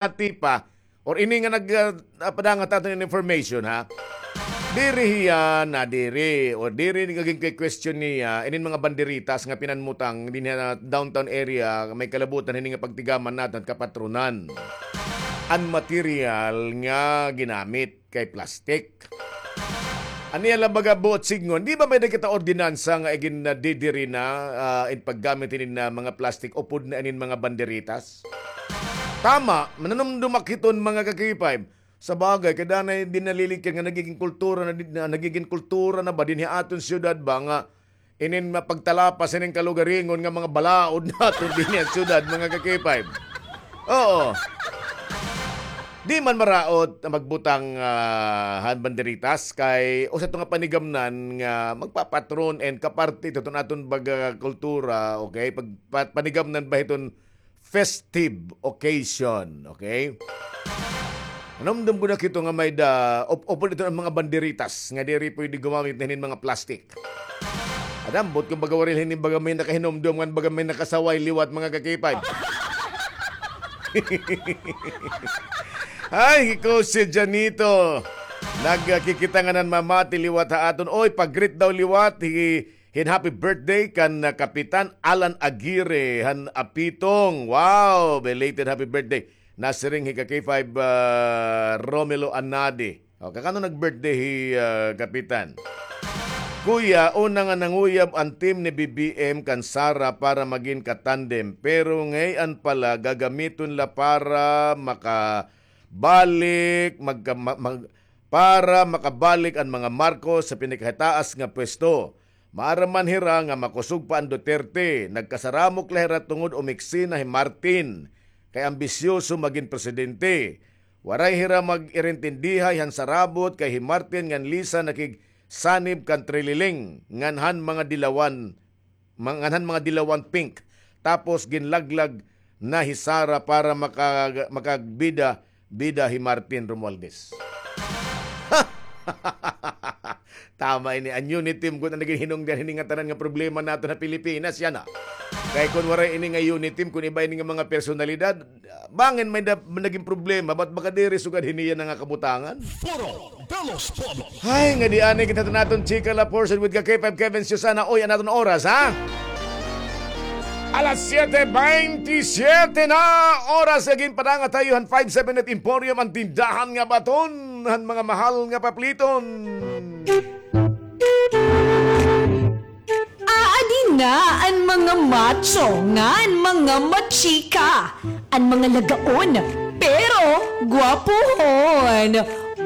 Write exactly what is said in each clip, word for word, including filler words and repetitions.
Ati pa, or ini nga nag, ah, ah, padangat aton information, ha? Diri hiya nadiri, or diri nga ginke-question niya, inin mga banderitas nga pinanmutang dinhi ha downtown area, may kalabutan hini nga pagtigaman naton kapatronan. An material nga ginamit kay plastic. Ania la baga buot sidngon, di ba may-ada kita ordinansa nga igin, ah, didiri na, ah, in paggamit hinin na mga plastic upod na inin mga banderitas? Tama, mananumdumak hiton mga ka-K five. Sa bagay, kay danay dinalilikyan nga nagiging kultura na, na, nagiging kultura na ba dinhi aton siyudad ba nga inin mapagtalapas, inin kalugaringon nga mga balaod naton dinhi ha syudad, mga ka-K five. Oo. Di man maraot nga magbutang, ah, han banderitas kay usa ito nga panigamnan nga magpapatron and kaparte ito ton aton baga kultura, okay? Pag, pa-, panigamnan ba hiton festive occasion, okay? Nanumdom ko na kito nga may-ada, up-, upod ito an mga banderitas nga diri pwede gumamit na hinin mga plastic. Adam, buot kon baga waray la hini baga may nakahinumdom ngan baga may nakasaway liwat, mga ka-K five. Ay, hiko si Janito. Nagkikita nga nan mamati liwat ha aton. Oy, pag-greet daw liwat hi hin happy birthday kan, ah, Kapitan Alan Aguirre han Apitong. Wow, belated happy birthday. Nasiring hi ka-K five, ah, Romelo Anade. O, kakano nag-birthday hi, ah, Kapitan? Kuya, una nga nanguyab an team ni B B M kan Sara para magin katandem. Pero ngay-an pala gagamiton la para makabalik, magka-, ma-, mag-, para makabalik an mga Marcos sa pinakahitaas nga pwesto. Maaram man hira nga makusog pa an Duterte. Nagkasaramok la hira tungod umiksi na hi Martin, kay ambisyoso magin presidente. Waray hira mag-irintindihay han sarabot kay hi Martin ngan Lisa nakigsanib kan Trililing ngan han mga dilawan, ma-, ngan han mga dilawan pink. Tapos ginlaglag na hi Sara para maka-, makagbida, bida hi Martin Romualdez. Tama ini, an Uniteam gud an naging hinungdan hini nga tanan nga problema naton ha Pilipinas, yana. Kay kon waray ini nga Uniteam, kon iba ini nga mga personalidad, bangin may-ada naging problema, ba't baga diri sugad hini yana nga kabutangan? Foro de los Pueblos. Ay, ngadi anay kita ha aton chika la portion with ka K five Kevin Susana. Oy, an aton oras, ha? Alas siyete beintisiyete na oras, nga ginpadangat ha iyo han five seven eight Emporium, an tindahan nga baton han mga mahal nga papliton. Aadi na an mga macho ngan mga machika, an mga lagaon, pero gwapohon,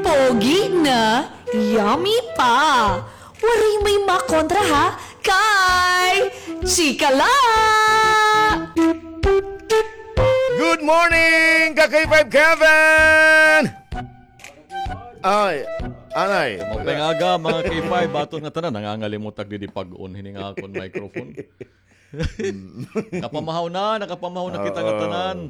pogi na, yummy pa. Waray may makontra ha kay Chika la! Good morning, ka K five Kevin! Ay, anay. Maupay nga aga, mga K five, baton nga tanan, nangangalimot ak didi pag-on hini nga akon microphone. Nakapamahaw na, nakapamahaw na kita nga tanan.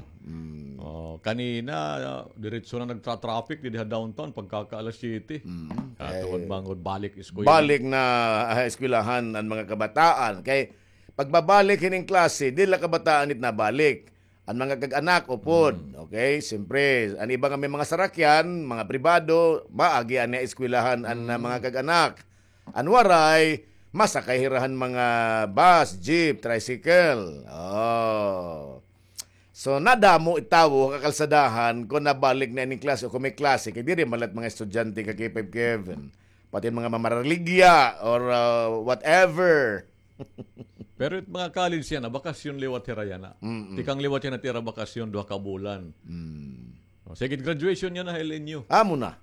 Oo. Oh, kanina, ah, diretso na nagtra-traffic didi ha downtown pagkaka alas siyete. Mm. Ah, tungod bangod balik eskwela. Balik na, ah, eskwelahan an mga kabataan. Kay pagbabalik hining klase, diri la kabataan it nabalik. An mga kag-anak, upod. Mm. Okay? Siyempre, an iba nga may mga sarakyan, mga pribado, maagi an eskwelahan an, ah, mga kag-anak. An waray, masakay hira han mga bus, jeep, tricycle. Oh. So, nadamo it tawo ha kakalsadahan kon nabalik na ining klase o kon may klase. Kay diri man la it mga estudyante ka K five Kevin. Pati mga mamaraligya or, ah, whatever. Pero it mga college yana, bakasyon liwat hira yana. Mm-mm. Tikang liwat yana it ira bakasyon, duha ka bulan. Mm. O, sige, graduation yana ha L N U. Amo na.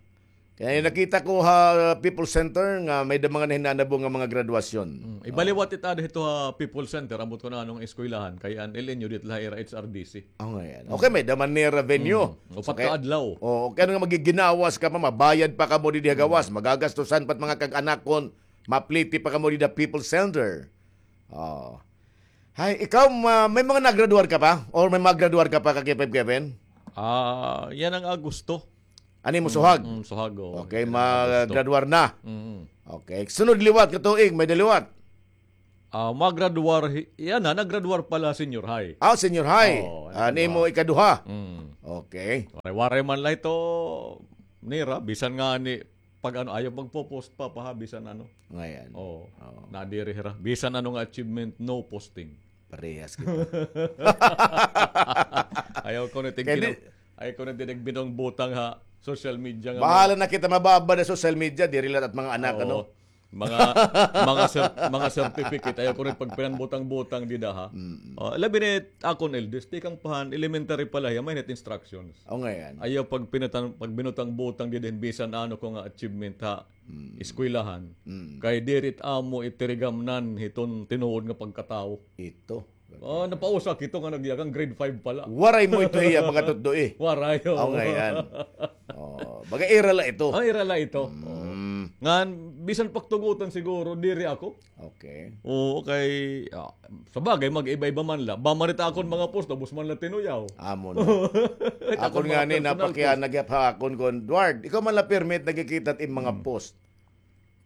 Kay nakita ko ha People's Center nga may-ada mga nahinanabo nga mga graduasyon. Mm. Iba liwat it aada hito ha People's Center, ambot ko na ano nga eskwelahan, kay an L N U dida la ha ira H R D C. Oh, nga yan. Okay, may-ada man nira venue. Mm. Upat ka adlaw. Oh, kay ano nga magiginawas ka pa, mabayad pa kamo didi ha gawas, magagastusan pa it mga kag-anakon, mapliti pa kamo dida People's Center. Oh. Hay, ikaw, ma-, may mga nagraduar ka pa? Or may magraduar ka pa, ka K five Kevin? Ah, yana nga Agosto. Ano imo suhag? Mm, mm, suhag, oo. Okay, yana nga Agosto. Magraduar na. Mm. Okay. Sunod liwat ka tuig, may-ada liwat? Ah, magraduar hi-, yana, naggraduar pala senior high. Ah, senior high. Oo, ah, nimo ikaduha. Mm. Okay. Waray-waray man la ito nira, bisan nga ni, pag ano, ayaw magpo-post pa, pa, ha, bisan ano. Ngayon. Oo. Oo. Nadiri hira. Bisan ano nga achievement, no posting. Parehas kita. Ayaw ko na tig-, ayaw ko na tinig binong butang ha social media nga. Bahala na kita mababad ha social media, diri la it mga anak, ano? Mga, mga cer-, mga certificate, ayaw ko rin pagpinanbutang-butang dida, ha? Mm. Oh, labi ni akon eldest, tikang pa han elementary pa la hiya, may instructions. O, ngayon. Ayaw pagpinatan-, pagbinutang-butang dida hin bisan ano ko nga achievement ha eskwelahan. Mm. Kay diri it amo itirigamnan hiton tinuod nga pagkatawo. Ito. Oh, napausa kito nga nagyakan, grade five pa la. Waray mo ito hiya, mga tutdo, eh. Waray, oh. Aw, ngayon. Oh, baga ira la ito. Oh, ira la ito. Mm. Ngan, bisan pagtugutan siguro, diri ako. Okay. Oo, kay, ah, sa bagay, mag-iba-iba man la. Ba man ito akon mga post, ubos man la tinuyaw. Amo na. Akon nga ni, napakiana gihap ha akon kon, Edward, ikaw man la permit, nagkikita it mga post.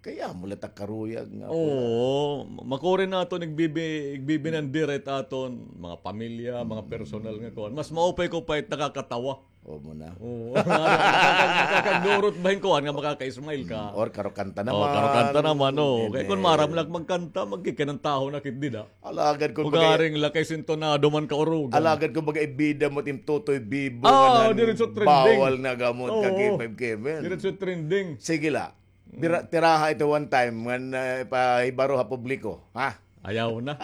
Kay amo la ta karuyag nga. Oo, makuri naton igbibi-, igbibinandir it aton mga pamilya, mga personal nga kuan. Mas maupay ko pa it nakakatawa. O, mo na. Oo. Nakakag-, nakakagdurot ba hin kuan nga makaka-smile ka? Mm, or karokanta naman. Oo, karokanta naman, oo. Kay kon maaram la magkanta, magkikinantaho na kit dida. Alagad kon ugaring la kay sintonado man kaurugan. Alagad kon baga ibida mo it im Totoy Bibo nga diretso trending. Bawal na gamot ka, K five Kevin. Diretso trending. Sige la. Bira-, tiraha ito one time ngan, ah, ipahibaro ha publiko, ha? Ayaw na.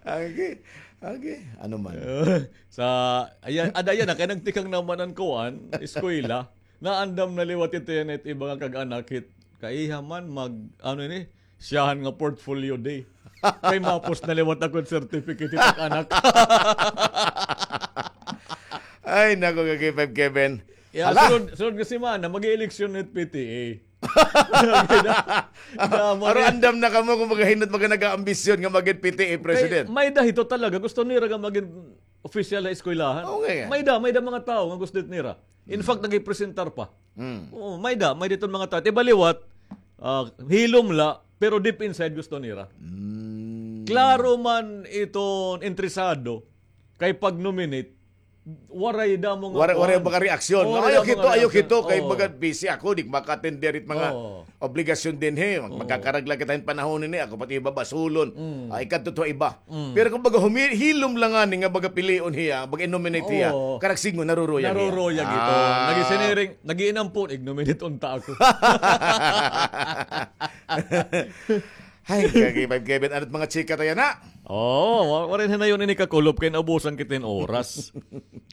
Agi, agi, ano man. Sa, ayan, ada yan, ah, kay nagtikang naman an kuan, eskwela. Naandam na liwat ito yan, it iba nga kag-anak, hit, kaiha man, mag, ano ini, siyahan nga portfolio day. Kay mapos na liwat ako certificate it ak anak. Ay, nako, ka K five Kevin. Ya, hala, sunod, sunod nga semana, mag-eleksyon it P T A. Aron andam na kamo kon magahinot, mga nag-aambisyon nga mag-it P T A president. May-da hito talaga, gusto nira nga mag-in official ha eskwelahan. Oo nga, eh. May-da, may-da mga tawo nga gusto nira. In fact, nag-ipresentar pa. Mm. Oo, may-da, may-da iton mga tawo. It iba liwat, ah, hilom la, pero deep inside gusto nira. Mm. Klaro man iton interesado, kay pag-nominate, waray damo nga kuan. Waray, waray baga reaksyon. Ayaw kito, ayaw kito, kay baga busy ako, di maka-attend diri it mga obligasyon dinhi. Magkakarag la kita hin panahon ini, ako pati iba basulon. Ah, ikadto to iba. Pero kon baga humi-, hilom la ngani nga baga pilion hiya, baga i-nominate hiya, karag sidngon, naruruyag hiya. Naruruyag ito. Nag-isiniring, nag-iinampon, ig-nominate unta ako. Hay, ka K five Kevin, ano it mga chika ta yana? Oo, wa-, waray hinayon ini kakulop kay naubusan kita hin oras.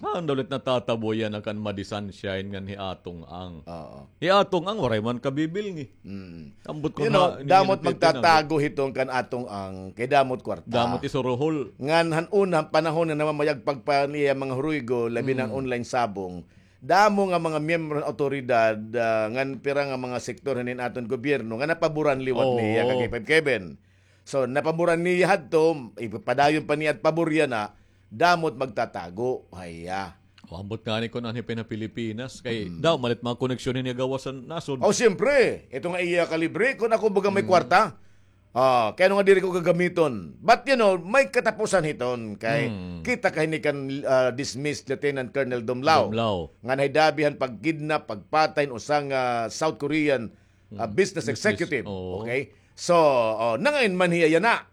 Ano daw it natatabo yana kan Madi Sunshine ngan hi Atong Ang? Oo. Hi Atong Ang, waray man kabibilngi. Mm. Ambot ko na, damo it magtatago hiton kan Atong Ang, kay damo it kwarta. Damo it isuruhol. Ngan han una, han panahon nga namamayagpag pa niya mga huruygo, labi na han online sabong. Damo nga mga miyembro han awtoridad, ah, ngan pira nga mga sektor hinin aton gobyerno nga napaboran liwat niya, ka K five Kevin. So, napaboran niya hadto, ipapadayon pa niya it pabor yana, damo it magtatago, haya. O, ambot ngani kon anhi pa hin Pilipinas, kay daw man it mga koneksyon niya gawas han nasod. O, siyempre, ito nga iya kalibre, kon ako baga may kwarta, ah, kay ano nga diri ko gagamiton? But, you know, may katapusan hiton kay kita ka hini kan, ah, dismissed Lieutenant Colonel Dumlao. Dumlao. Nga nahidabi han pag-kidnap, pagpatay hin usa nga South Korean, ah, business executive. Oo. Okay? So, oh, nangain man hiya yana.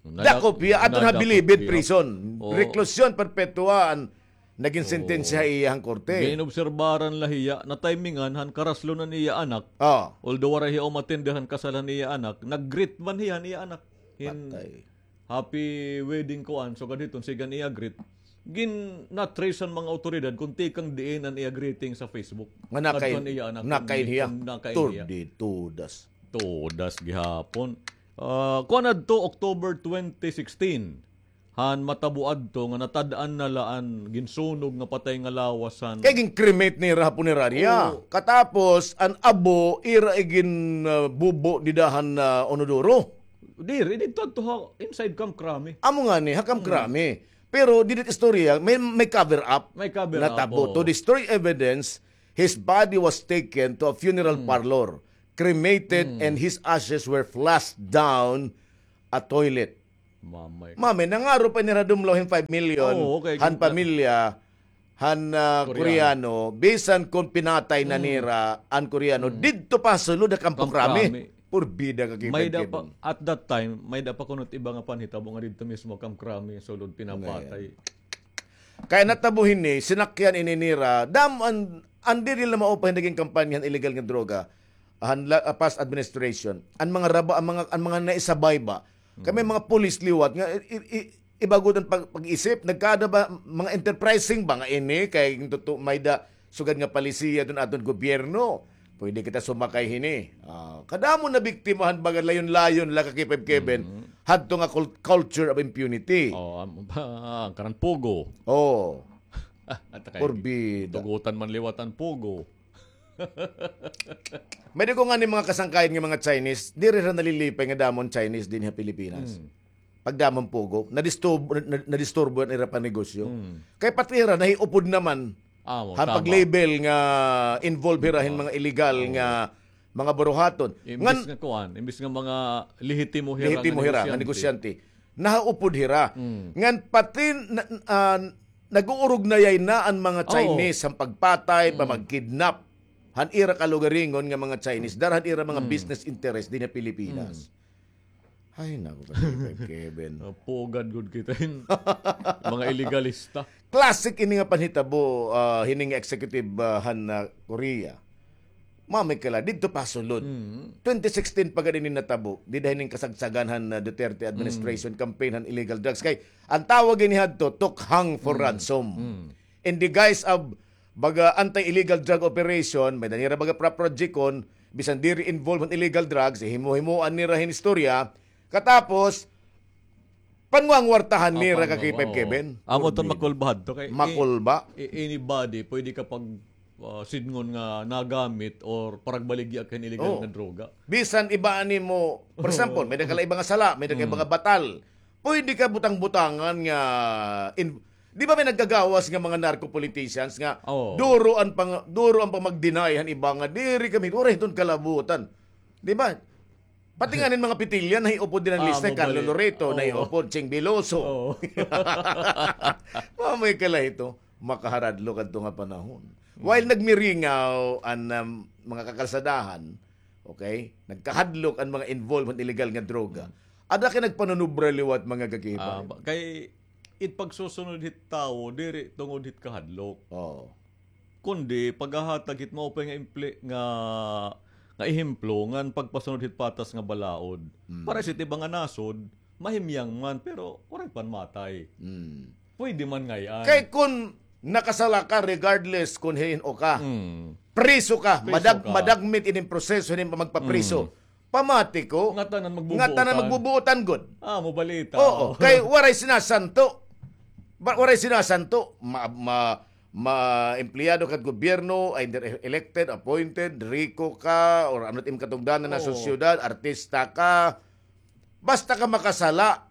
Dakop hiya, aton ha Bilibid Prison. Oo. Reclusion perpetua an nagin sentensya ha iya han korte. Ginobserbaran la hiya, na-timingan han karaslo han iya anak. Ah. Although waray hiya umattend han kasal han iya anak, nag-greet man hiya han iya anak. Hin happy wedding kuan, sugad hiton, sige an iya greet. Gin-, na-trace han mga awtoridad kon tikang diin an iya greeting sa Facebook. Nga nakain, nakain hiya. Nakain hiya. Tordid, todas. Todas gihapon. Ah, kuan adto, October twenty sixteen. Han matabo adto nga natad-an na la an ginsunog nga patay nga lawas han. Kay gin-cremate nira ha punerarya. Oo. Katapos, an abo, ira igin, ah, bubo dida han, ah, inodoro. Diri, didto adto ha, inside Camp Crame. Amo ngani, ha Camp Crame. Pero didi it istorya, may, may cover up. May cover up, natabo. To destroy evidence, his body was taken to a funeral parlor. cremated and his ashes were flushed down a toilet. Mamay. Mamay, nangaro pa nira dumlaw hin five million Oo, okay, han ganda. Pamilya han, ah, Koreano. Koreano, bisan kon pinatay na nira an Koreano, didto pa sulod ha Kampo Krami. Kampo Krami. Purbida ka, may da pa, at that time, may da pa kuno it iba nga panhitabo nga didto mismo Kampo Krami, sulod pinapatay. Kay natabo hini, sinakyan ini nira, damo an, an diri la maupay naging kampanya han illegal nga droga, han la-, ah, past administration. An mga raba-, an mga, an mga naisabay ba? Kay may mga pulis liwat nga, i-, i-, i-, iba gud an pag-, pag-isip, nagkada ba, mga enterprising ba nga ini, kay tutu-, may da, sugad nga palisiya dun aton gobyerno. Pwede kita sumakay hini. Ah, kadamo na biktima han baga layon-layon la ka K five Kevin. Hadto nga cul-, culture of impunity. Oh, am-, ah, karan pugo. Oh. At kay purbida. Tugutan man liwat an pugo. May ko ngani mga kasangkayan nga mga Chinese, diri ra nalilipay nga damo an Chinese dinhi ha Pilipinas. Pagdamo an pugo, nadisturbo, na-, na-, nadisturbo an ira panegosyo. Kay pati hira, nahiupod naman. Amo, han tama. Pag-label nga involved hira hin mga illegal nga mga buruhaton. Imbis nga kuan, imbis nga mga lehitimo hira nga negosyante. Lehitimo hira nga negosyante. Nahaupod hira. Ngan pati na, ah, nag-uurugnayay na an mga Chinese han pagpatay, pamagkidnap han ira kalugaringon nga mga Chinese, dara han ira mga business interest dinhi ha Pilipinas. Ay, naku, Kevin. Napugad gud kita hin mga illegalista. Classic ini nga panhitabo, ah, hini nga executive, ah, han, ah, Korea. Mamay kala, didto pa sulod. Twenty sixteen pa gad ini natabo, dida hining kasagsagan han, ah, Duterte administration campaign han illegal drugs. Kay, an tawag ini hadto, took hang for ransom. In the guise of baga anti-illegal drug operation, may da nira baga pra-, project kon, bisan diri involved han illegal drugs, himo-himoan nira hin istorya, katapos, panguwangwartahan nira ka K five Kevin. Amo ton makulba hadto kay i-, makulba. I-, anybody, pwede ka pag, ah, sidngon nga nagamit or paragbaligya ka hin illegal nga droga. Bisan iba ani mo, for example, may da ka la iba nga sala, may da ka iba nga batal. Pwede ka butang-butangan nga in-, di ba may nagkagawas nga mga narco politicians nga duro an pang-, duro an pamag-deny han iba nga diri kami, waray hiton kalabutan. Di ba? Pati nga nin mga pitilya, nahiupod din an lista, Carlo Loreto, nahiupod, Ching Veloso. Mamay kala hito, makaharadlok adto nga panahon. While nagmiringaw an, um, mga kakalsadahan, okay, nagkahadlok an mga involved han illegal nga droga. Ada kay nagpanunubra liwat mga gagihibay. Ah, ba-, kay it pagsusunod hit tawo, diri tungod hit kahadlok. Oo. Kundi paghahatag hit maupay nga impli-, nga, nga ehemplo ngan pagpasunod hit patas nga balaod. Para sit iba nga nasod, mahimyang man, pero waray pa matay. Pwede man ngay-an. Kay kun nakasala ka, regardless kun hin-o ka, priso ka, madag-, madagmit ini proseso hin pamagpapriso. Pamati ko, ngatanan magbubuotan. Ngatanan magbubuotan gud. Ah, mabalita. Oo, kay waray sinasanto. Ba-, waray sinasanto. Ma-, ma-, ma-, empleyado ka gobyerno, either e-, elected, appointed, riko ka, or ano it im katungdanan na sosyedad, artista ka. Basta ka makasala,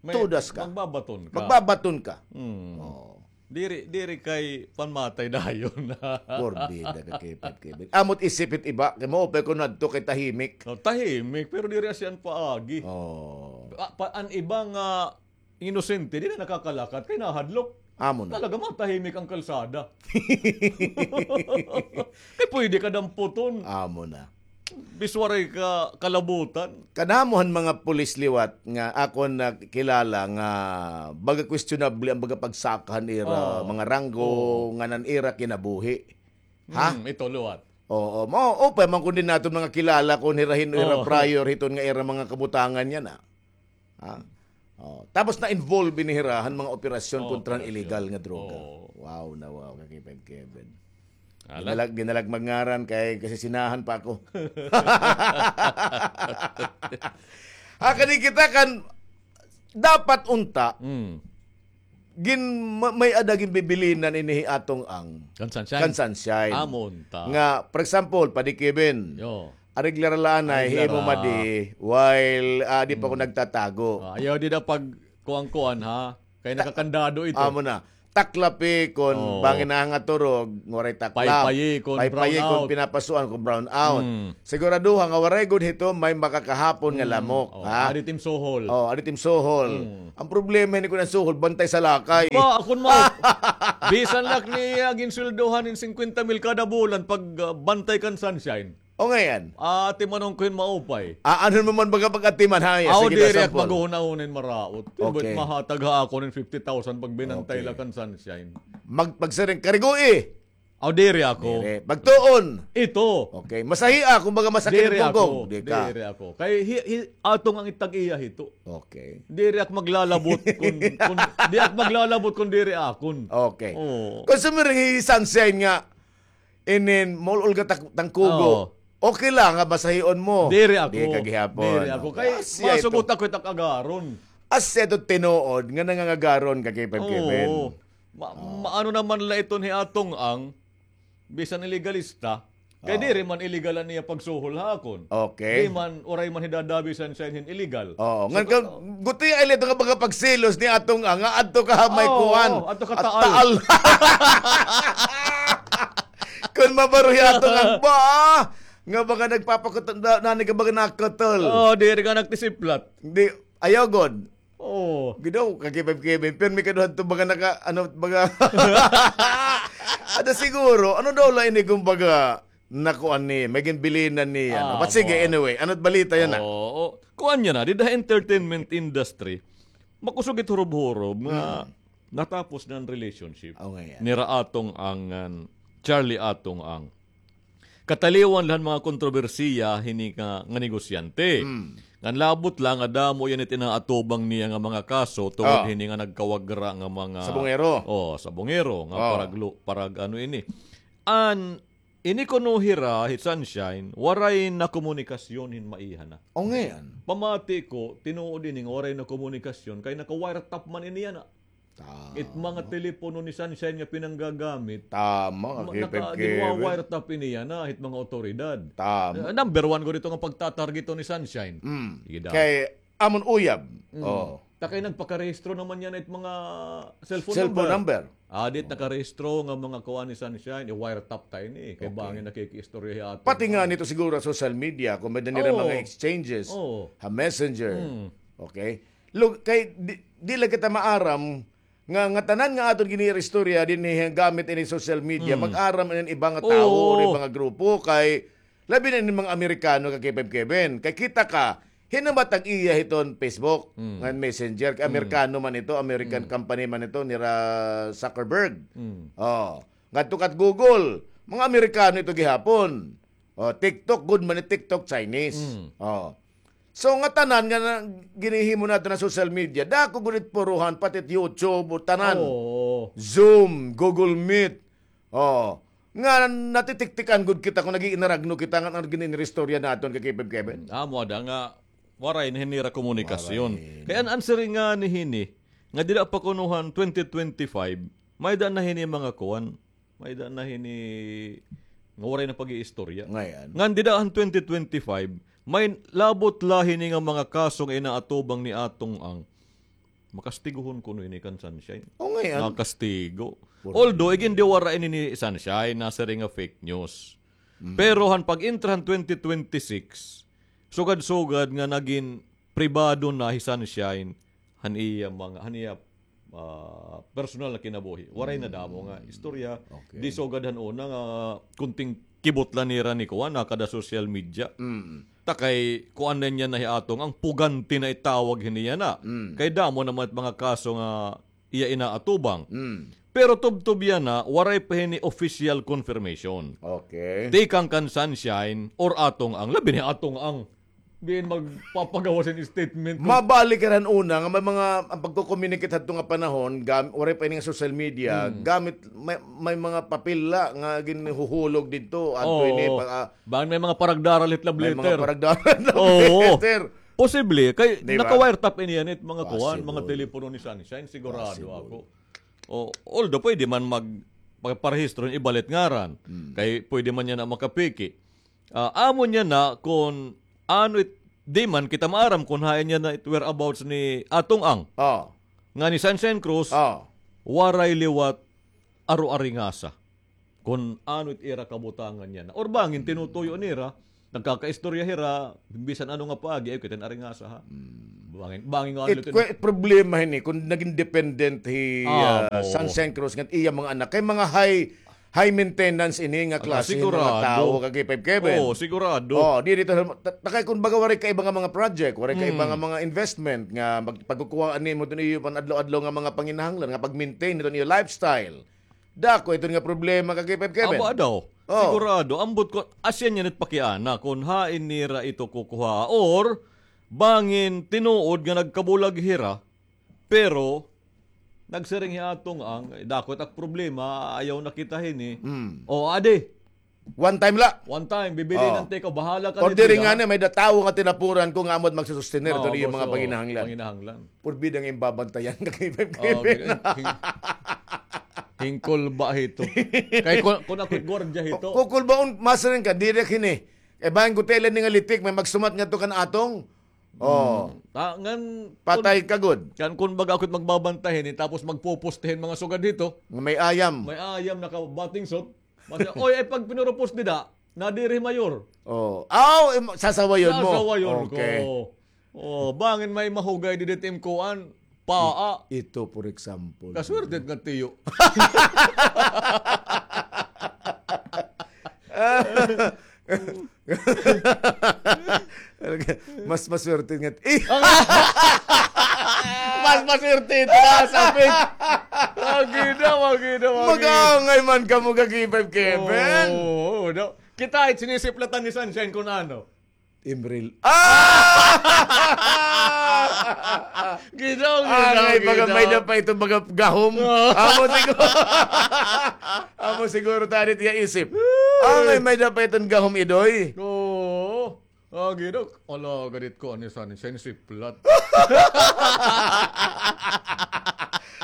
tudas ka. Magbabaton ka. Magbabaton ka. Oo. Diri, diri kay panmatay dayon. Porbida ka, Kevin, Kevin. Amot isip it iba, kay maupay kon adto kay tahimik. Oh, tahimik, pero diri asya an paagi. Oh. Pa, pa, an iba nga inosente, diri nakakalakat, kay nahadlok. Amo na. Talaga, matahimik an kalsada. Kay pwede ka damputon. Amo na. Bis waray ka kalabutan. Kadamo han mga pulis liwat nga akon nakilala nga baga questionable an baga pagsaka han ira mga ranggo, ngan an ira kinabuhi. Ha? Hmm, ito liwat. Oo, mao, upay man kon din naton mga kilala kon hira hin-o ira prior hiton nga ira mga kabutangan yana. Ha? Oh, tapos na-involve ini hira han mga operasyon kontra han illegal nga droga. Wow na wow, ka Kevin, Kevin. Ala. Ginalag-, ginalag magngaran kay kasisinahan pa ako. Ah, kani kita kan dapat unta gin-, ma-, may-ada ginbibilinan ini hi Atong Ang. Kan Sunshine. Kan Sunshine. Amo unta. Nga, for example, Padi Kevin. Yo. Areglar la anay, himo madi, while, ah, di pa ko nagtatago. Ah, ayaw di na pag kuan-kuan, ha? Kay nakakandado ito. Amo na. taklapi kon Oo. bangin na nga turog, waray taklap. Paypayi kon Paypayi kon brownout. pinapasuan kon brownout. Mm. Siguraduha nga waray gud hito may makakahapon nga Mm. lamok, Oo, ha? Adi tim suhol. Oh, adi tim suhol. Mm. Ang problema ini kon ang suhol, bantay sa lakay. Ba, akon mao. Bisan la niya ginsweldohan hin singkwenta mil kada bulan pag, ah, bantay kan Sunshine. O ngayan. Atimanon ko hin maupay. Ah, ano mo man baga pag-atiman, ha? Aw, sige, diri ak sampol. Maghunahuna hin maraot. Okay. Mahatag ha akon hin fifty thousand pag binantay la kan Sunshine. Okay. Mag-, magsiring, karigoi. Aw, diri ako. Diri. Magtuon. Ito. Okay. Masahia, kumbaga, masakit Diri ang pungkong. ako. Di ka. Diri ako. Kay hi-, hi-, Atong Ang itag iya hito. Okay. Diri ak maglalabot kun, kun, di ak maglalabot kun diri akon. Okay. Oo. Kung sumiring hi Sunshine nga, inin, maul-ol ka tak-, tangkugo. Oo. Okay lang nga basahion mo. Diri ako. Di ka gihapon. Diri ako. Okay. Kay Asya ito. masugot ako it ak agaron. Asya ito tinuod nga nangangagaron ka kay Pep Kevin. Oo. Ma-, Oo. maano naman la iton hi Atong Ang, bisan ilegalista, kay Oo. diri man illegal an iya pagsuhol ha akon. Okay. Di man, uray man hidadabi Sunshine hin illegal. Oo. So, Ngan ka, to- guti ay lito nga mga pagselos ni Atong Ang, nga adto ka ha may Oo, kuan. adto ka At taal. taal. Kun mabaro hi Atong Ang, ba, nga mga nagpapakutol, na, nani ka mga nakutol. Oo, diri ka nagtisiplat. Di, ayaw gud. Oo. Gidaw, kakipay-kipay. Pero may kaduhan to, baga naka, ano, baga. Ada siguro, ano daw la ini, kumbaga, nakuan ni, may ginbilinan ni, ano. Ah, But sige, mo. anyway, ano't balita yana? Oo. Kuan yana, dida entertainment industry, makusog it hurob-hurob nga Hmm. natapos na an relationship Oh, nga yan. nira Atong Ang, ngan Charlie Atong Ang. Kataliwan la han mga kontrobersiya hini nga, nga negosyante. Mm. Ngan labot la nga damo yana it inaatubang niya nga mga kaso tungod Ah. hini nga nagkawagra nga mga Sa bungero. Oh, sa bungero nga Ah. paraglo-, parag ano ini. An ini kuno hira hi Sunshine, waray na komunikasyon hin maiha na. O, ngayan. Pamati ko, tinuod ini nga waray na komunikasyon, kay naka-wiretap man ini yana. Tama. It mga telepono ni Sunshine nga pinanggagamit, Tama, ma-, kakipay-kipay. naka-, ginwa-wiretap ini yana, it mga otoridad. Tama. Eh, number one gud ito nga pagtatargeto ni Sunshine. Mm. Sige daw. Kay amon uyab. Mm. Oh. Ta kay nagpakarehistro naman yana it mga cellphone Cellphone number. number. Ah, dit Oh. nakarehistro nga mga kuan ni Sunshine, i-wiretap ta ini. Kay Okay. bangin nakikiistorya hi Atong Pati nga Ang. nito siguro social media, kung may nira Oo. mga exchanges, Oo. ha Messenger. Mm. Okay? Lug-, kay di, di la kita maaram nga, nga tanan nga aton giniiristorya dinhi gamit ini social media, Mm. mag-aram ini iba nga tawo Oo. or iba nga grupo, kay labi na ini mga Amerikano, kakipay-kipay. Kay kita ka, hinumat an iya hiton Facebook, Mm. ngan Messenger, kay Mm. Amerikano man ito, American Mm. company man ito, nira Zuckerberg. Mm. Oh. Ngadto kat Google, mga Amerikano ito gihapon. Oh, TikTok, gud man it TikTok, Chinese. Mm. Oh. So, nga tanan nga na, ginihimo naton nga social media, dako gud it puruhan, pati it YouTube, o tanan. Oo. Zoom, Google Meet. Oh. Nga natitiktikan gud kita kon nag-iinaragno kita nga an giniiristorya naton, kakipay-kipay. Amo ada nga waray na hini nira komunikasyon. Waray. Kay an answer nga ni hini, nga dida pa kuno han twenty twenty-five, may-ada na hini mga kuan, may-ada na hini nga waray na pag-iistorya. Ngayan. Ngan dida han twenty twenty-five, may labot la hini nga mga kaso nga inaatubang ni Atong Ang. Makastiguhon kuno ini kan Sunshine. O, ngayan. Nga kastigo. Por Although, Dios. igin di wara ini ni Sunshine, nasiring nga fake news. Mm. Pero han pag-intra han twenty twenty-six, sugad-sugad nga nagin pribado na hi Sunshine, han iya mga, han iya, ah, personal na kinabuhi. Waray na damo nga istorya. Okay. Di sugad han una nga kunting kibot la nira ni kuan, ha, kada social media. Mm. Ta kay kuan na niya na hi Atong Ang, pugante na itawag hini yana. Mm. Kay damo naman it mga kaso nga iya inaatubang. Mm. Pero tubtob yana, waray pa hini official confirmation. Okay. Tikang kan Sunshine or Atong Ang, labi ni Atong Ang. Diin magpapagawas hin statement. Mabalik ka han una nga may mga, ang pagko-communicate hadto nga panahon, gam-, waray pa ini nga social media, Mm. gamit, may, may mga papel la nga ginhuhulog didto, adto Oo. ini, pag, ah, Bangin may mga paragdaral hit love letter. May mga paragdaral hit love Oo. letter. Posible, kay Di ba? naka-wiretap ini yana it mga kuan, mga Possible. telepono ni Sunshine, sigurado Possible. ako. O, although pwede man mag-, magparehistro hin iba la it ngaran. Mm. Kay pwede man yana makapeke. Ah, amo niya na kon ano it, di man kita maaram kon hain niya na it whereabouts ni Atong Ang. Oh. Nga ni Sunshine Cruz, Oh. waray liwat aro-aringasa. Kon ano it ira kabutangan yana. Or bangin tinutuyo nira, nagkakaistorya hira, bisan ano nga paagi, ay, kita aringasa, ha? Bangin, bangin nga ano It, it, kwe-, problema hini, kung naging dependent hi, ah, Amo. Sunshine Cruz, ngan iya mga anak, kay mga high, high maintenance ini nga Ah, klase ng mga sigurado. Tao, kag K five Kevin. Oo, sigurado. Oh, di dito, ta-, takay kung baga waray kaiba nga mga project, waray kaiba nga mga investment, nga mag-, pagkukuhaan nimo dun iyo pan adlaw-adlaw nga mga panginahanglan, nga pag-maintain nito iyo lifestyle. Dako iton nga problema ka, K five Kevin. Aba daw. Oh. Sigurado, ambot ko, asya niya nit pakiana, kung hain nira ito kukuha, or bangin tinuod nga nagkabulag hira, pero nagsiring hi Atong Ang, "Dako it ak problema, ayaw na kita hini." Mm. O, adi. One time la. One time, bibilinan ta ikaw, bahala ka dito, diri ha? Nga na, may-ada tawo nga tinapuran ko nga amo it magsusustener, ito iyo mga panginahanglan. Panginahanglan. Purbida nga imbabantayan ka kay Five K P. Hingkol ba hito? Kay kun, kun ako gwardiya hito. Kukul ba un, masiring ka, diri kini. Kay bahin ko tela ni nga litik, may magsumat nga to kan Atong. Oh. Ta, ngan, patay ka gud. Kan kun baga ako it magbabantay hini, tapos magpupustihin mga sugad hito. Nga may ayam. May ayam naka-bathing suit. Masiring, oy, ay pag pinurupos dida, nadiri mayor. Oh. Aw, im-, sasawayon mo. Sasawayon ko. Okay. Oh, bangin may mahugay didi it im kuan, paa. Ito, for example. Kaswerte nga tiyo. Mas maswerte nga. Eh! Mas maswerte ito na sa pig. Magida, magida, magida. Mag-aangay man kamo ka K five Kevin. Oo, no. Kita, it sinisiplatan ni Sunshine kung ano. Imril. Ah! Ginaw, ginaw, may da pa ito mga gahom. Amo siguro. Amo siguro tadi tiya isip. Angay, may da pa iton gahom, Idoy. Oo. Ah, ginaw. Ala, gadit ko, ani Sunshine, siplat.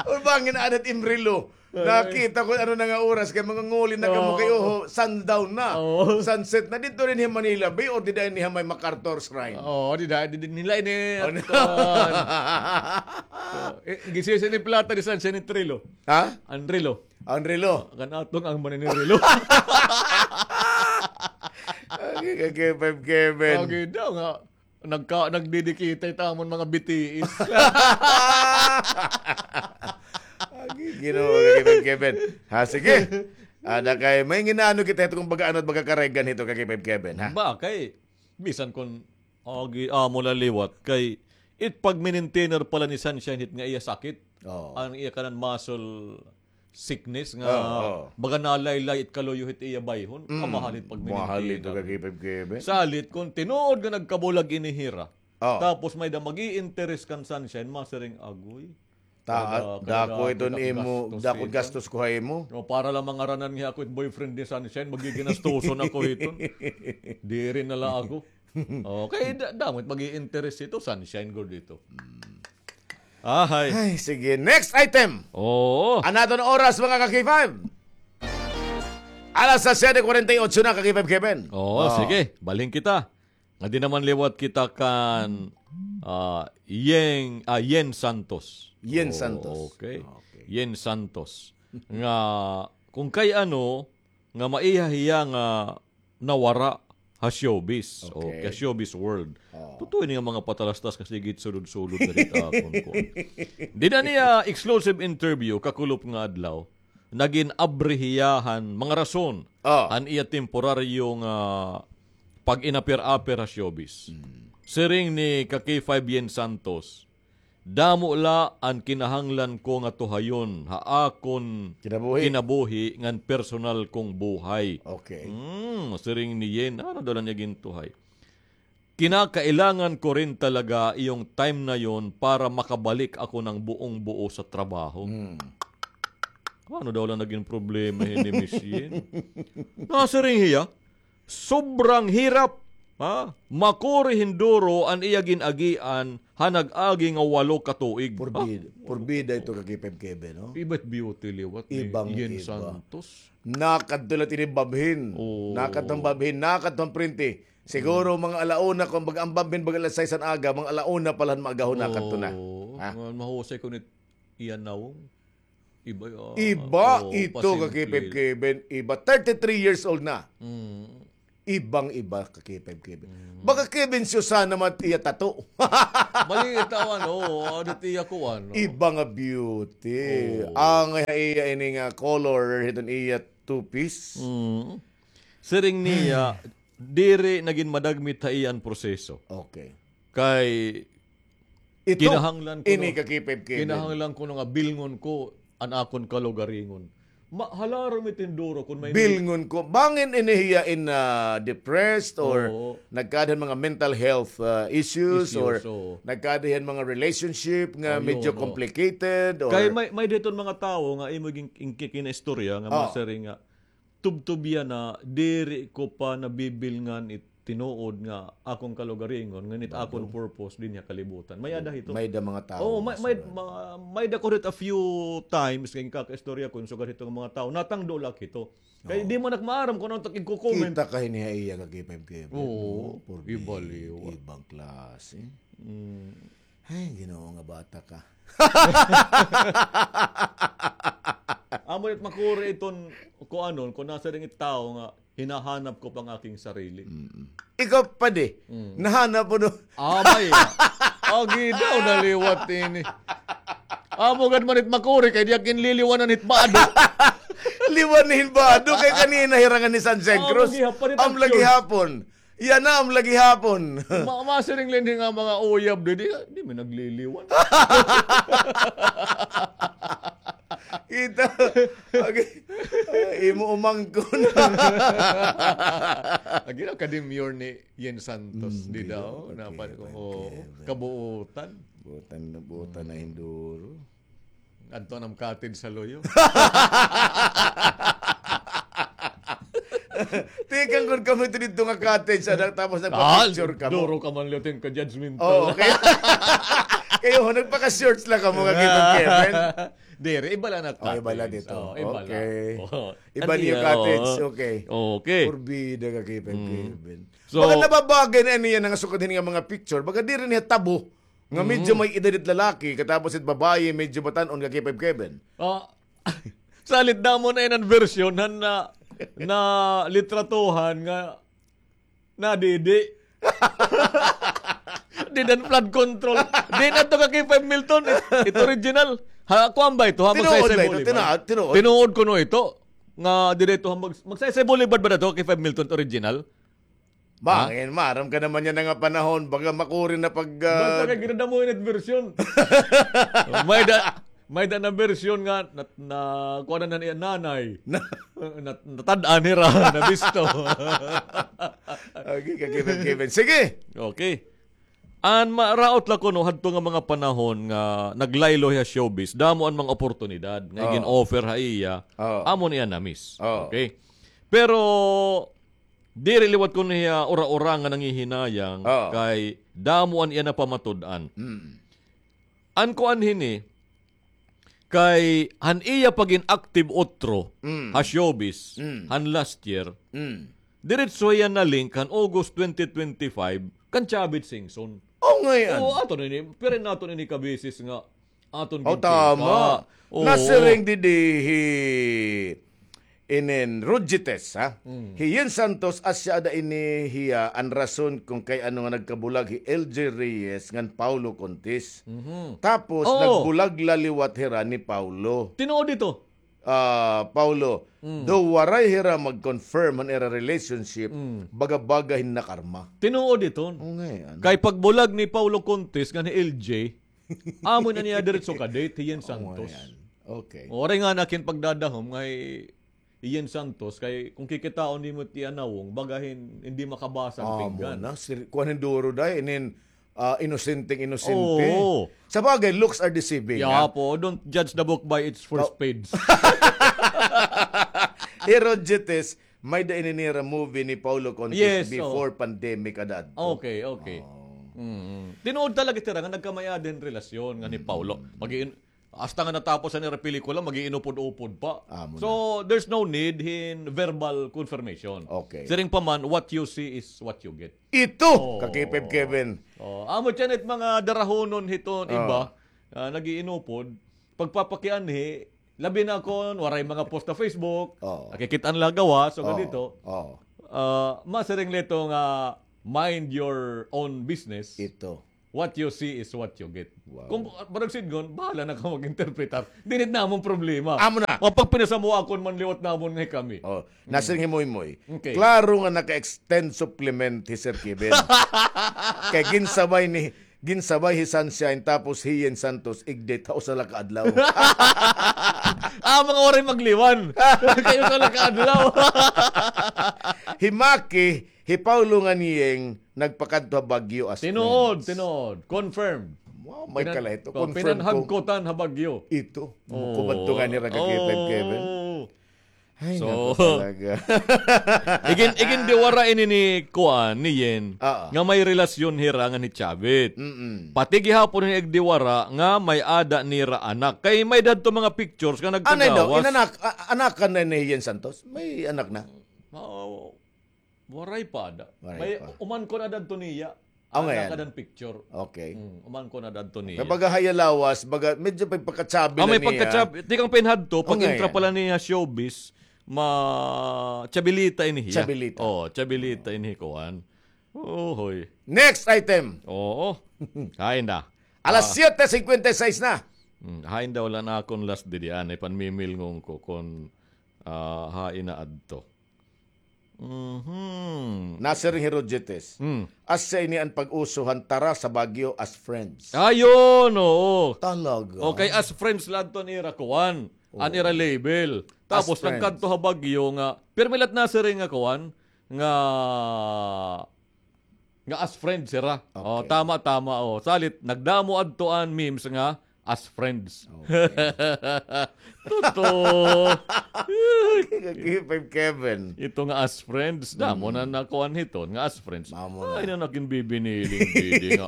Urbangin adat Imrilo. Nakita ko ano na nga oras, kay manganguli na kamo kay, oho, sundown na. Oo. Sunset na. Dito rin hi Manila Bay o dida ini ha may MacArthur Shrine? Oo, dida, dida nila ini. Gisisi ni plata ni Sunshine ni Trilo. Ha? An Rilo. An Rilo. Kan Atong Ang man ini Rilo. Agi ka, Kevin, Kevin. Agi daw nga. Nagka-, nagdidikita it amon mga B T S. Agi, Ginoo, Kevin, Kevin. Ha, sige. Ada kay, may ginano kita ito kung baga ano, baga karegan ito kay Kevin, Kevin, ha? Ba, kay, bisan kun, agi, amo la liwat, kay, it pagminintiner pala ni Sunshine hit nga iya sakit. Oo. An iya kanan muscle sickness nga baga nalaylay it kaluyo hit iya bayhon. Kamahal it pagminintiner. Mahal ito ka K five Kevin. Salit kun tinuod nga nagkabulag ini hira. Oo. Tapos may da mag-i-interest kan Sunshine, masiring agoy. Dako iton imo, dako gastos ko ha imo. No, para la mangaranan nga ako it boyfriend ni Sunshine, magiginastoson ako hiton. Diri na la ako. Okay, da-, damo it mag-i-interest ito, Sunshine gud ito. Ahay. Ay, sige. Next item. Oo. An aton oras, mga ka-K five. Alas siyete kwarenta y ocho na, ka-K five Kevin. Oo, sige. Balhin kita. Ngadi naman liwat kita kan, ah, Yeng, ah, Yen Santos. Yen Santos. Okay. Yen Santos. Nga, kung kay ano, nga maiha hiya nga nawara ha showbiz. Okay. O, ka showbiz world. Oo. Totoo ini nga mga patalastas nga sige it sulod-sulod na dito akon kuan. Dida niya exclusive interview, kakulop nga adlaw, nagin abri hiya han mga rason han iya temporaryo nga pag-inapir-apir ha showbiz. Siring ni ka K five Yen Santos, Damo la an kinahanglan ko nga tuhayon ha akon kinabuhi ngan personal kong buhay. Okay. Hmm, siring ni Yen, ano daw la niya gintuhay? Kinakailangan ko rin talaga yung time na yon para makabalik ako ng buong buo sa trabaho. Hmm. Ano daw la naging problema hin ni Miss Yen? Nasiring hiya, Sobrang hirap, ha? Makuri hin duro an iya gin-agian ha nag-agi nga walo ka tuig. Purbida, purbida ito ka K five Kevin, no? Iba it beauty liwat ni Yen Santos. Nakadto la it ini babhin. Oo. Nakadto an babhin, nakadto an prente. Siguro mga ala una, kung baga an babhin, baga alas sais an aga, mga ala una pa la han maagahon nakadto na. Oo. Ha? Mahusay ko ni iya nawong. Iba, ah, iba ito, ka K five Kevin. Iba, thirty-three years old na. Mm. Ibang-iba, ka K five Kevin. Mm. Baka Kevin Susana man iya tato. Bali, ito, ano, ano, tiya ko, ano. Iba nga beauty. Oo. Ang iya ini nga color, hiton iya two-piece. Mm. Siring niya, diri na gin madagmit ha iya an proseso. Okay. Kay ito, kinahanglan kuno, ini ka K five Kevin. Kinahanglan kuno nga bilngon ko an akon kalugaringon. Ma-, halarom it hinduro kon may bilngon ko. Bangin ini hiya in, ah, depressed or nagkaada hin mga mental health, ah, issues, or nagkaada hin mga relationship nga medyo complicated, or kay may, may-ada hiton mga tawo nga imo gin-, gin-, gin-istorya nga masiring nga, tubtob yana, diri ko pa nabibilngan it tinuod nga akon kalugaringon, ngan it akon purpose dinhi ha kalibutan. May-ada hito. May-ada mga tawo. Oo, may, may, ma-, may-ada ko hit a few times nga ginkakaistorya ko sugad hito nga mga tawo. Natangdo la ak hito. Kay di man ak maaram kon ano it ak igko-comment. Kita ka hini ha iya ka K five Kevin. Oo, ibaliw. Ibang klase. Mm. Ay, Ginoo nga bata ka. Amo it makuri iton kuanon, kon nasiring it tawo nga hinahanap ko pa ang aking sarili. Mm-mm. Ikaw, padi, nahanap mo, no? Amay. Agi daw, naliwat ini. Amo gad man it makuri, kay di ak ginliliwanan hit bado. Liwan hin bado, kay kanina hirangan ni San Jose Cruz. Amo gihapon it aksyon. Am lagi hapon. Yana am lagi hapon. Ma-, masiring la ini nga mga uyab, di, di, di man nagliliwan. Kita. Okay. Imo umangkon. Agi na ka-demure ni Yen Santos, di daw? Napan ko, kabuutan. Buutan na, buutan na hinduro. Adto na am cottage sa luyo. Tikang kon kamo ito didto nga cottage, ada, tapos nagpa-picture kamo. Duro ka man liwat hin ka-judgmental. Oo, okay. Kayo, nagpaka-shorts la kamo nga kita, Kevin. Diri, iba la na cottage. Oh, iba la dito. Oo, iba la. Okay. Oo. Iba niyo cottage, okay. Okay. Porbida ka, Kevin, Kevin. So, baga nababagay na niya nga sukad hini nga mga picture. Baga diri niya tabo. Nga medyo may edad it lalaki, katapos it babayi, medyo batan-on ka, K five Kevin. Ah, salit damo na iyan an version han na, na litratuhan nga nadidi. Dida hin flood control. Di na to ka K five Milton. It, it original. Ha, kuan ba ito? Ha, Magsaysay Boulevard. Tinuod kuno ito. Nga dida ito, ha, Mag-, Magsaysay Boulevard ba na to, K five Milton original? Bangin, maaram ka naman yana nga panahon, baga makuri na pag, ah, basta kay ginadamo ini it version. May-ada, may-ada na version nga nat-, na, kuan na niya nanay. Na, natad-an hira, nabisto. Okay, ka-Kevin, Kevin. Sige. Okay. An maraot la kuno hadto nga mga panahon nga naglaylo hiya showbiz, damo an mga oportunidad nga gin-offer ha iya, amo niya na-miss. Okay? Pero diri liwat kuno hiya ura-ura nga nangihinayang kay damo an iya napamatud-an. An kuan hini, kay han iya pagin-active utro ha showbiz han last year, diretso hiya na-link han August twenty twenty-five kan Chavit Singson. O, ngay-an. Oo, aton ini, pero naton ini kabeses nga aton gintika. O, tama. Oo. Nasiring didi hi inin Rodjites, ha? Hi Yen Santos, asya ada ini hiya an rason kon kay ano nga nagkabulag hi L J Reyes ngan Paulo Contis. Tapos, nagbulag la liwat hira ni Paulo. Tinuod ito. Ah, Paulo, daw waray hira mag-confirm han ira relationship, baga-baga hin nakarma. Tinuod ito. O, ngay-an. Kay pagbulag ni Paulo Contis ngan hi L J, amo na niya diretso ka-date hi Yen Santos. O, ngay-an. Okay. Waray nga na kin pagdadahom nga hi Yen Santos, kay kon kikitaon nimo it iya nawong, baga hin, hindi makabasa an pinggan. Amo na, kuan hin duro, day, inin, ah, inosenteng inosente. Oo. Sabagay, looks are deceiving, ha? Yapo, don't judge the book by its first page. Hi Rodjites, may-ada ini nira movie ni Paulo Contis before pandemic ada adto. Okay, okay. Tinuod talaga it ira nga nagkamay-ada hin relasyon ngan hi Paulo. Mag-iin-, Hasta nga natapos an ira pelikula, mag-iinupod-upod pa. Amo na. So, there's no need hin verbal confirmation. Okay. Siring pa man, what you see is what you get. Ito, ka K five Kevin. O, amo tiyan it mga darahonon hiton iba, ah, nag-iinupod, pagpapakianhi, Labi na kon waray mga post ha Facebook, Oo. nakikit-an la gawas, so Oo. ganito. Oo. Ah, masiring la ito nga mind your own business. Ito. What you see is what you get. Wow. Kung, ah, parang sidngon, bahala na ka mag-interpretar. Dinit namon problema. Amo na. O, pag pinasamuakon man liwat namon nga kami. Oh, Hmm. nasiring hi Moymoy. Okay. Klaro nga naka-extend supplement hi Sir Kevin. Kay ginsabay ni, ginsabay hi Sunshine tapos hi Yen Santos, igdate ha usa la ka adlaw. Ah, mga waray magliwan. Kay usa la ka adlaw. Hi Maki, hi Paulo ngan Yeng nagpakadto ha Baguio as Tinuod, friends. Tinuod. Confirmed. Wow, may Pinan-, kala ito. oh, Confirmed ko. pinanhagkotan ha Baguio. Ito. Oo. Kumadto nga nira ka Kevin, Kevin. Oo. Ay, So, naku talaga. igin-, igindiwara ini ni kuan, ni Yen, Oo. nga may relasyon hira ngan hi Chavit. Mm-mm. Pati gihapon ini igdiwara nga may-ada nira anak. Kay may-ada adto mga pictures nga Anay daw, nagkagawas. inanak-, a-, anakan na ni Yen Santos? May anak na? Oo. Waray pa ada. Waray May pa. uman ko na dadto niya. Ah, Ang ngayon. nakadan picture. Okay. Mm, uman ko na dadto niya. Kay baga ha iya lawas, baga medyo pagpakachabi Ah, na may niya. pagkachab-, tikang pinhadto, Ang pag-intra ngayon. pala niya showbiz, ma-, chabilita ini hiya. Chabilita. Oh, chabilita ini kuan. Oh, hoy. Next item. Oo. Hain da. Alas Ah. siyete cincuenta y seis na. Mm, hain da, wala na akon last didi, anay, panmimilngon ko kon, ah, hain na adto. Mhm. Nasiring hi Rogetes. Hmm. Asya ini an pag-uso han tara sa Baguio as friends. Ayun, oo. Talaga? Okay, as friends la adto an ira kuan, an Oo. ira label. As Tapos friends. nagkadto ha Baguio nga, pirmi la it nasiring nga kuan, nga, nga as friends sira. Oh, Okay. tama, tama, oh. Salit, nagdamo adto an memes nga as friends. Okay. Totoo. Kay Kevin. Ito nga as friends, damo Mm. na nakuan hiton nga as friends. Mamo na. Ay, na nakin bibiniling bidi nga.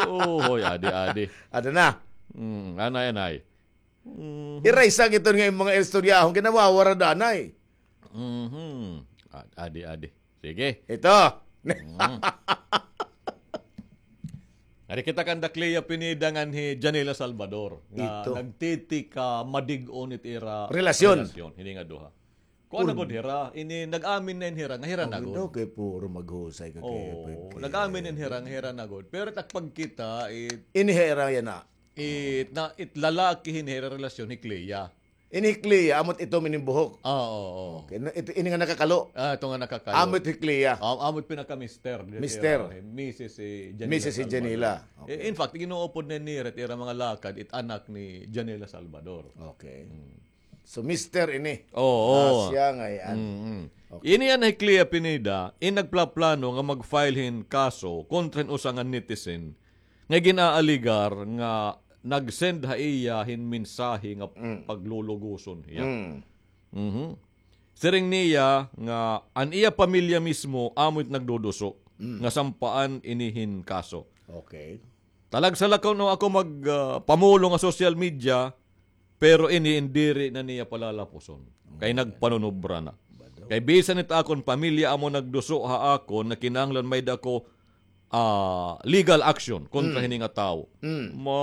Oo, hoy, adi, adi. Ada na. Mm, anay, anay. Mhm. Iray sa giton nga yung mga istoryahon, ginawawara danay. Mhm. A-, adi, adi. Sige. Ito. Mm. Ari kita kan da Clea Pineda ngan hi Janela Salvador nga Ito. nagtitika madig-on it ira Relasyon. relasyon. Hini nga duha. Kuan na gud hira, ini nag-amin na in hira nga hira na gud. Daw kay puro maghusay ka kay Oo, F F K. nag-amin in hira nga hira na gud. Pero it ak pagkita, it Ini hira yan na. It, na, it lalaki hin hira relasyon hi Clea. Ini hi Clea, amot ito mining buhok. Ah, oo, oo. Okay, na, ito, ini nga nakakalo. Ah, ito nga nakakalo. Amot hi Clea. Ah, amot pinaka-mister. Mister. Misis si Janela Misis si Salvador. Janela. Eh, Okay. in fact, ginuupod na nira it ira mga lakad, it anak ni Janela Salvador. Okay. Mm. So, mister ini. Oo. Ah, siya nga yan. Mm, mm. Okay. Ini an hi Clea Pineda, in nagplaplano nga mag-file hin kaso kontra hin usa nga netizen nga gin-aaligar nga nag-send ha iya hin mensahe nga Mm. pagluluguson hiya. Mm. Mhm. Siring niya nga an iya pamilya mismo amo it nagduduso Mm. nga sampaan ini hin kaso. Okay. Talagsa la kuno ako mag, ah, pamulong ha social media, pero ini in diri na niya palalapuson. Kay Okay. nagpanunubra na. Bado. Kay bisan it akon pamilya amo nagduso ha akon nga kinahanglan may-ada ko, ah, legal action kontra Mm. hini nga tawo. Mm. Mo,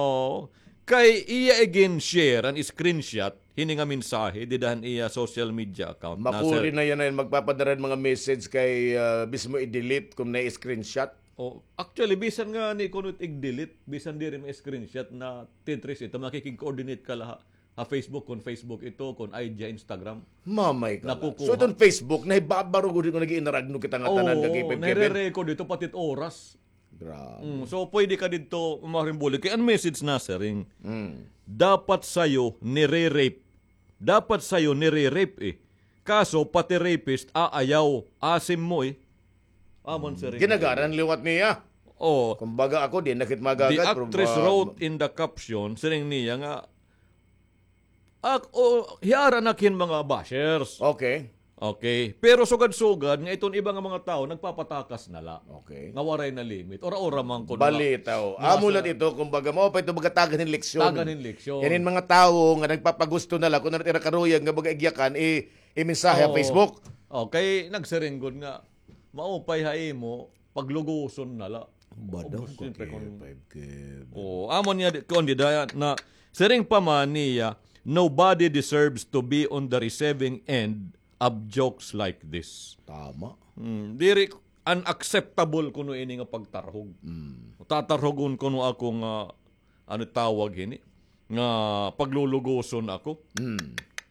kay iya igin-share an screenshot hini nga mensahe dida han iya social media account. Makuri Nasa na yan, ay magpapadara hin mga message kay, ah, mismo i-delete kung na-screenshot. Oh, actually, bisan nga ni kuno it ig-delete, bisan diri ma-screenshot na ti-trace ito, makikig-coordinate ka la ha, ha Facebook, kung Facebook ito, kung I G, Instagram. Mamay ka la. Nakukuha. So, itong Facebook, nahibabaro gud ko nag-iinaragno kita nga tanan Oo, nga kay Pep Kevin. nare-record ito, pati it oras. Grabe. Mm, so, pwede ka didto, mahimbuli. Kay an message nasiring, Mm. dapat sayo nire-rape. Dapat sayo nire-rape, eh. Kaso, pati rapist, aayaw, asim mo, eh. Amon siring. Ginagaran liwat niya. Oh. Kumbaga ako, di nakit The magagad, pero actress ba- wrote in the caption, siring niya nga, ak-, oh, hiara na kin mga bashers. Okay. Okay. Pero sugad-sugad nga iton iba nga mga tawo, nagpapatakas na la. Okay. Nga waray na limit. Ora-ora man kuno. Balitaw. Amo la ito, kumbaga, mao pa ito, baga tagan hin leksyon. Tagan hin leksyon. Yan yung mga tawo nga nagpapagusto na la, kung ano tira karuyag nga baga igyakan, i- Imensahe ha Oo. Facebook. Oh, kay nagsiring gud nga, maupay ha imo, pagluguson na la. Bado Ubos ko siyempre kay kung five K. Oh, amo niya di, kuan dida na, siring pa man niya, Nobody deserves to be on the receiving end of jokes like this. Tama. Hmm, diri, unacceptable kuno ini nga pagtarhog. Mm. Tatarhogon kuno ako nga, ano tawag hini? Nga paglulugoson ako. Mm.